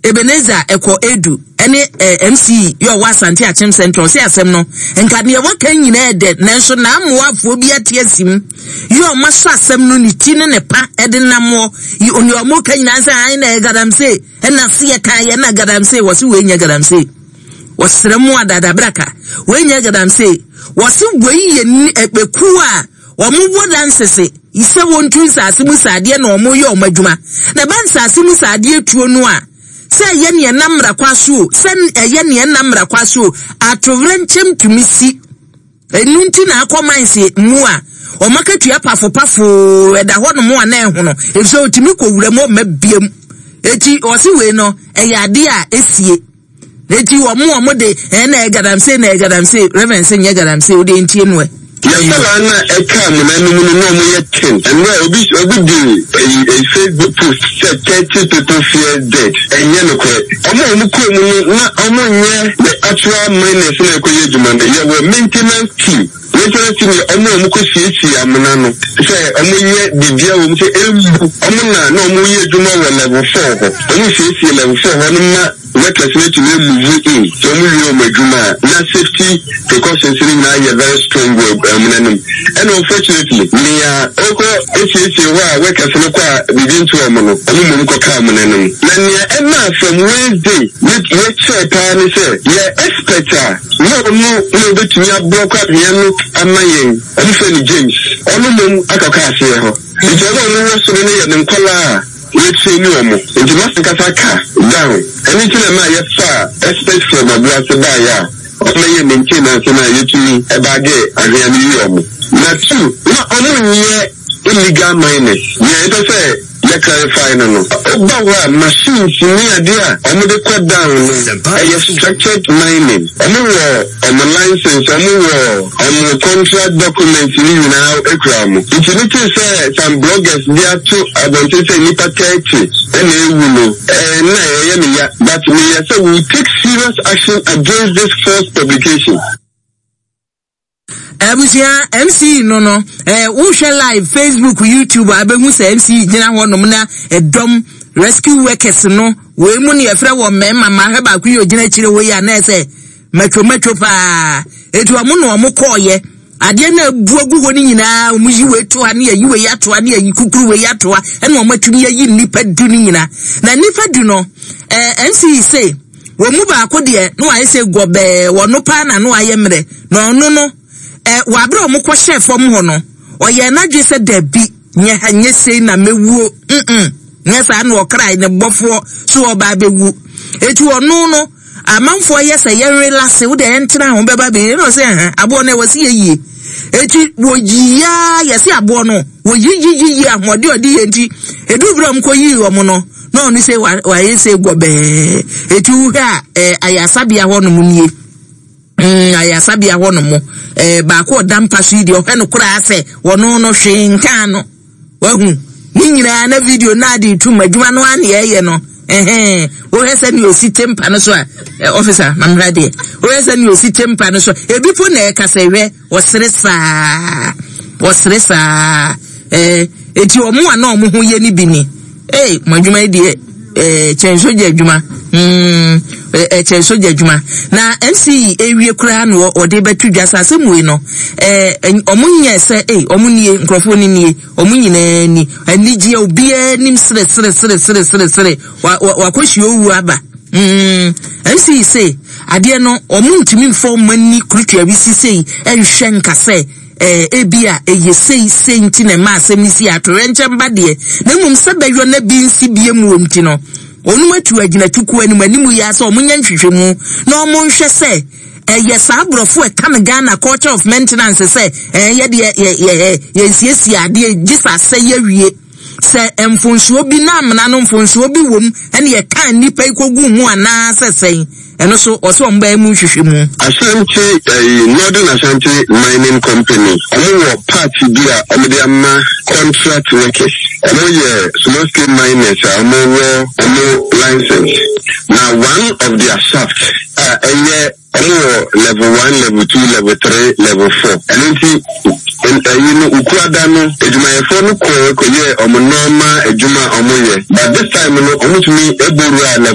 Ebenezer Ɛkɔ Edu ɛne eh, MC yɛ ɔwɔ Asante Akyem Central ɔse asɛm no nka deɛ waka nyinaa ɛdɛ nanso n'amoafoɔ bi ate asim yɛ ɔma sɔ asɛm no ne ti ne ne pa ɛde namoɔ yi onua ɔmo ka nyinaa sɛ ae na ɛyɛ galamsey ɛna se yɛ kan yɛ na galamsey wɔse wei nyɛ galamsey wɔsrɛ mu adadabraka wei nyɛ galamsey wɔse wei yɛ ɛkuo a Wɔn wɔ lansese sɛ wɔntu nsase mu sradeɛ na wɔn yɛ wɔn adwuma. Na ɛba nsase mu sradeɛ tuo no a, sɛ ɛyɛ neɛ ɛnam mmara kwa so o, sɛ ɛyɛ neɛ ɛnam mmara kwa so o, atowerɛnkyɛm tumi si. Ɛno nti na akɔ mines mu a, wɔn akatua pafopafo ɛda hɔ nom a na ɛhono, efisɛ otumi kɔ wura mu ɔmma biam. Eti ɔse wei no, ɛyɛ adeɛ a esie. Eti wɔn a wɔn de ɛn na ɛyɛ galamsey na ɛyɛ galamsey reverend sɛ nyɛ galamsey o deɛ ntie no ɛ. Yɛ nkwadaa no a ɛkaa amena no mu no na wɔn yɛ ten. Ɛnora obi obi de ɛyi ɛyi Facebook post sɛ 30 people fear dead. Ɛnyɛ nokorɛ. Wɔn a wɔn kɔɔ mu no na wɔn nyɛ the actual miners na ɛkɔ yɛ adwuma no. Yɛwɔ maintenance team. Maintenance team yɛ wɔn a wɔn kɔ siesie amena no sɛ wɔn yɛ biribiara wɔ mu sɛ ɛmbu. Wɔn na na wɔn yɛ adwuma wɔ level four hɔ. Wɔn siesie level four hɔ no ma Workers no tumi move in sɛ wɔn wie wɔn adwuma a, na safety precautions no nyinaa yɛ very strong wɔ amena no mu. Ɛna unfortunately nea ɔkɔ esiesie hɔ a workers no kɔ a biribi nto wɔn no, wɔn mmom kɔ ka amena no mu. Na nea ɛmaa from Wednesday yɛ yɛkyɛɛ paa ne sɛ yɛ expert a na ɔno na obetumi ablɔk anwea no ama yɛn, wɔn frɛ no James, ɔno mmom akɔka aseɛ hɔ. Nti wɔn a wɔwɔ soro no yɛ ne nkwadaa a. Yɛtraini wɔn, nti m'ankasa ka down. Ɛno nti na ɛmaa yɛfaa expert from Abuase baeɛ a wɔbɛyɛɛ maintenance no a yɛtumi baagee anhwea no yii wɔn. Na two, na wɔnyɛ illegal miners. Nea yɛpɛ sɛ yɛ clarify no no, woba hɔ a machines ne adeɛ a wɔde kɔ down no, ɛyɛ structured mining. Wɔwɔ wɔn license, wɔwɔ wɔn contract documents no nyinaa kura wɔn. Nti me tee sɛ some bloggers de ato abɔnten sɛ nnipa 30 na awu no, eh, na ɛyɛ me ya, but meyɛ sɛ we will take serious action against this false publication. Abusua MC no no eh, wohwɛ live Facebook, YouTube a bɛhu sɛ MC gyina hɔ nom na ɛdɔm rescue workers no wei mu ne yɛfrɛ wɔ mmarima ma hwɛ baako yi ogyina akyire hɔ yi a na ɛsɛ matwo matwo paa eti wɔn na wɔn kɔɔyɛ adeɛ na abu agu hɔ no nyinaa wɔn yi wei to ha ne yɛyi wei ato ha ne yɛyi kukuru wei ato ha ɛna wɔn atumi ayi nnipa du no nyinaa na nnipa du no ɛɛ MC se Wɔn mu baako deɛ, na wayɛ sɛ gɔbɛɛ, ɔno paa na na wayɛ mmerɛ, na ɔno no, ɛ, wɔ aberɛ a wɔkɔhyɛɛ fam hɔ no, ɔyɛɛ n'adwene sɛ, Dabi, nyɛ ha, nyɛ sei na mɛwuo, mm-mm, nyɛ saa na ɔkrae ne bɔfoɔ so ɔba abɛwu. Eti ɔno no, amanfoɔ yɛ sɛ yɛnrelase, wo deɛ yɛntena ho bɛba bɛyie, na ɔsɛ ɛhɛn, aboɔ no ɛwɔ se yɛyie. Eti wɔyiyaa, yɛse aboɔ no, wɔyiyiyiyi ahoɔden ɔde yɛ nti, ɛduru berɛ a wɔkɔyii wɔn no, na ɔno sɛ wayɛ sɛ gɔbɛɛ eti wohwɛ a ɛɛ ayasabea hɔ nom nie ayasabea hɔ nom ɛɛ baako ɔda mpa so yi deɛ ɔhwɛ no koraa sɛ wɔno no hwee nkaa no wahu ne nyinaa na video na ade tum adwuma no ara na yɛyɛ no ɛhɛn wohwɛ sɛ nea osi te mpa no so a ɛ ɔfisa mamhwɛ deɛ wohwɛ sɛ nea osi te mpa no so ebi po na ɛka sɛ hwɛ Wɔsere saa, wɔsere saa. Eh, eti wɔn a na wɔn ho yɛ no bi ni. Ee, mo adwuma yi deɛ, eh, kyɛn sogya adwuma. Mm, eh, kyɛn sogya adwuma. Na MC ewie koraa na wɔde bɛto dwa sɛ asɛm wei no, eh, wɔn nyɛ sɛ, ee, wɔn nie, nkurɔfoɔ no nie, wɔn nyinaa ni. Anigyeɛ, obiara nim sere sere sere sere sere sere. Wa, wa, wakɔhyia owu aba. Mm, MC se adeɛ no wɔn ntumi mfa wɔn ani kurutua bi si sei nhwɛ nka sɛ ɛɛ ebi a ɛyɛ sei sei nti na ɛma asɛm no si atoyerɛnkyɛm ba deɛ, na mmom sɛ bɛyɔ na bi nsi bie mu wɔ nti no wɔn atu agyinatukuo anim anim yi ara sɛ wɔn nyɛ nhwehwɛmu na wɔn nhwɛ sɛ ɛyɛ saa aborɔfo ɛka no Ghana culture of maintenance sɛ ɛɛ yɛ deɛ yɛ yɛ yɛnsiesie adeɛ gye sɛ asɛe awie. Sɛ mfonsoɔ bi na amena no mfonsoɔ bi wom ɛna yɛkaa nnipa yi kɔguu mu anaa sɛ sɛn, ɛno so ɔsɛ wɔn bɛyɛ mu nhwehwɛmu. Ashanti ɛyi Northern Ashanti Mining Company ɔmo wɔ part bi a ɔmo de ama contract workers. Ɔmo yɛ small scale miners a ɔmo wɔ ɔmo license. Na one of their shaft a ɛyɛ Ɔmo wɔ level one, level two, level three, level four. Ɛno nti ɛyi no Ukuada no adwumayɛfoɔ no kɔɔ kɔyɛɛ ɔmo normal adwuma a ɔmo yɛ but this time no ɔmo tumi bɔ wuraa level.